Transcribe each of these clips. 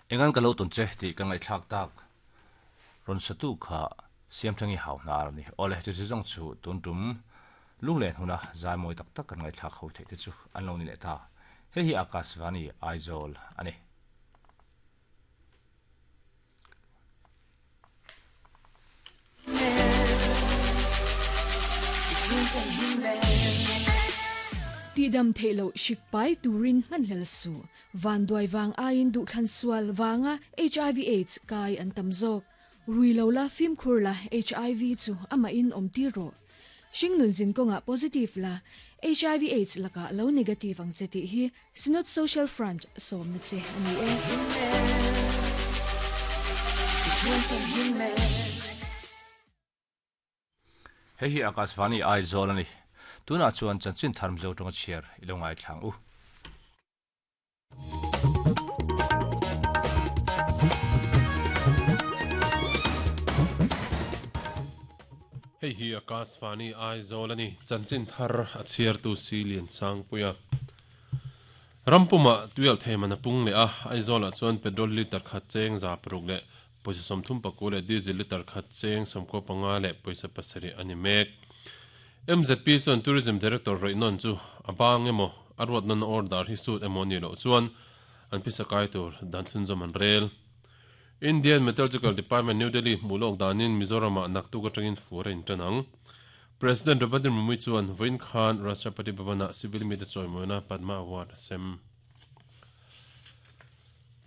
Engan ka lo tawn che tih ka ngaihthlak tak rawn satu kha Siamthangi hau hnar a ni. Awle, chu zawng chu tun tum lunglen huna zai mawi tak tak kan ngaihthlak ho theih te chu an lo ni leh ta. Hei hi Akashvani Aizawl a ni. Tihdam theih loh hrik pai turin hmanhlel suh. Vanduai vang aiin duhthlan sual vanga hiv aids kai an tam zawk. Rui lo la, fimkhur la, hiv chu amahin awm tir rawh. Hringnun zin kawngah positive la, hiv aids lakah lo negative ang che tih hi Synod Social Front sawmna che a ni e. Hei hi Akashvani Aizawl a ni. Tunah chuan chanchin thar Mizo tawnga chhiar i lo ngaithlang u. Hei hi Akashvani Aizawl a ni. Chanchin thar a chhiartu si Liansangpuia. Rampumah tuialh thei man a pung leh a, Aizawlah chuan petrol litre khat cheng 600 leh pawisa 35 leh diesel litre khat cheng 95 leh pawisa 7 a ni mek. MZP chuan Tourism Director rawihnawn chu a bang emaw, a ruatnawn order hi sut emaw a nih loh chuan an phisa kai tur dan chhunzawm an rel. Indian Meteorological Department, New Delhi hmuh lawk danin Mizoramah naktuk atangin fur a intan ang. President Draupadi Murmu chuan vawiin khan Rashtrapati Bhavan-ah civil mite chawimawina Padma Award a sem.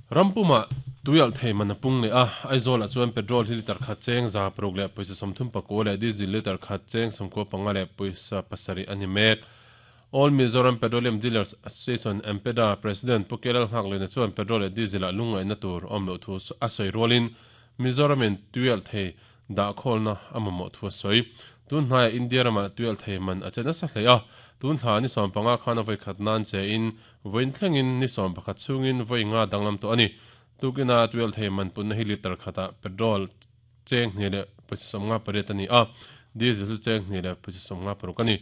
Rampumah tuialh thei man a pung leh a, Aizawl-ah chuan petrol hi litre khat cheng 600 leh pawisa 39 leh diesel litre khat cheng 95 leh pawisa 7 a ni mek. All Mizoram Petroleum Dealers Association, AMPEDA, President Pu Kelal Nghaklena chuan petrol leh diesel-ah lungngaihna tur awm loh thu a sawi rualin Mizoramin tuialh thei dah khawlna a mamawh thu a sawi. Tun hnaiah India ramah tuialh thei man a che nasa hle a, tun thla ni 15 khan a vawi khat nan che in vawiin thlengin ni 11 chhungin vawi nga danglam tawh a ni. Tukina tuialh thei man punna hi litre khatah petrol cheng hnih leh pawisa 58 a ni a, diesel chu cheng hnih leh pawisa 56 a ni.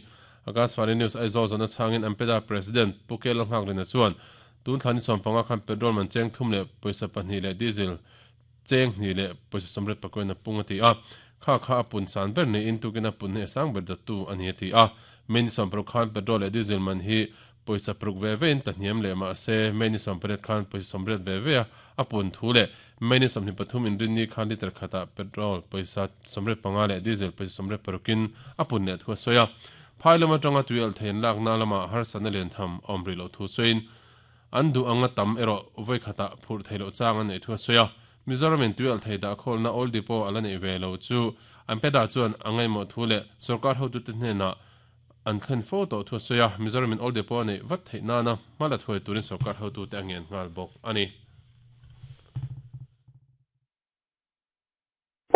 Akashvani News Aizawl zawhna chhangin Ampeda President Pu Kelal Nghaklina chuan tun thla ni 15 khan petrol man cheng thum leh pawisa pahnih leh diesel cheng hnih leh pawisa sawmriat pakuain a pung a ti a, kha kha a pun san ber niin tukin a pun hi a sang ber dattu a ni a ti a. May ni 60 khan petrol leh diesel man hi pawisa paruk ve vein ta hniam leh mah se May ni 18 khan pawisa 80 ve ve a a pun thu leh May ni 23 inrinni khan litre khatah petrol pawisa 85 leh diesel pawisa 86 in a pun leh thu a sawi a. Phai lam atanga tui alh thei an lakna lamah harsatna lian tham a awm rih loh thu sawiin An duh anga tam erawh vawi khatah phurh theih loh chang an neih thu a sawi a. Mizoramin tui alh thei dah khawlna Oil Depot a la neih ve lo chu an peda chuan a ngaihmawh thu leh sorkar hotute hnenah an thlen fo tawh thu a sawi a. Mizoramin Oil Depot a neih vat theih nana hma la thuai turin sorkar hotute a ngen nghal bawk a ni.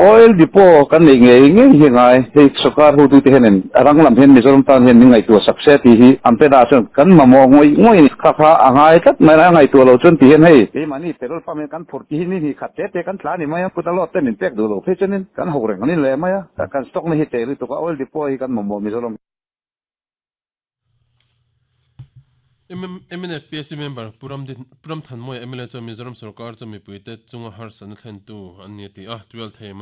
Oil depot kan neih ngei ngei hi ngai, hei sorkar hotute hianin a rang lam hian Mizoram tan hian min ngaihtuah sak se tih hi an pe dah chuan kan mamawh ngawih ngawih a ni. Kha kha a ngai tlat mai a, ngaihtuah lo chuan ti hian hei keimahni petrol pump hian kan phurh tih hi ni hnih khat te te kan tla a ni mai a, kut a load te min pek duh lo phei chuanin kan ho reng an inleh mai a, kan stock na hi teh lutuk a, oil depot hi kan mamawh Mizoram. Mnf PSC member Pu Ramthanmawia mla chuan Mizoram sorkar chu mipuite chunga harsatna thlentu an ni a ti a, 12 thei man.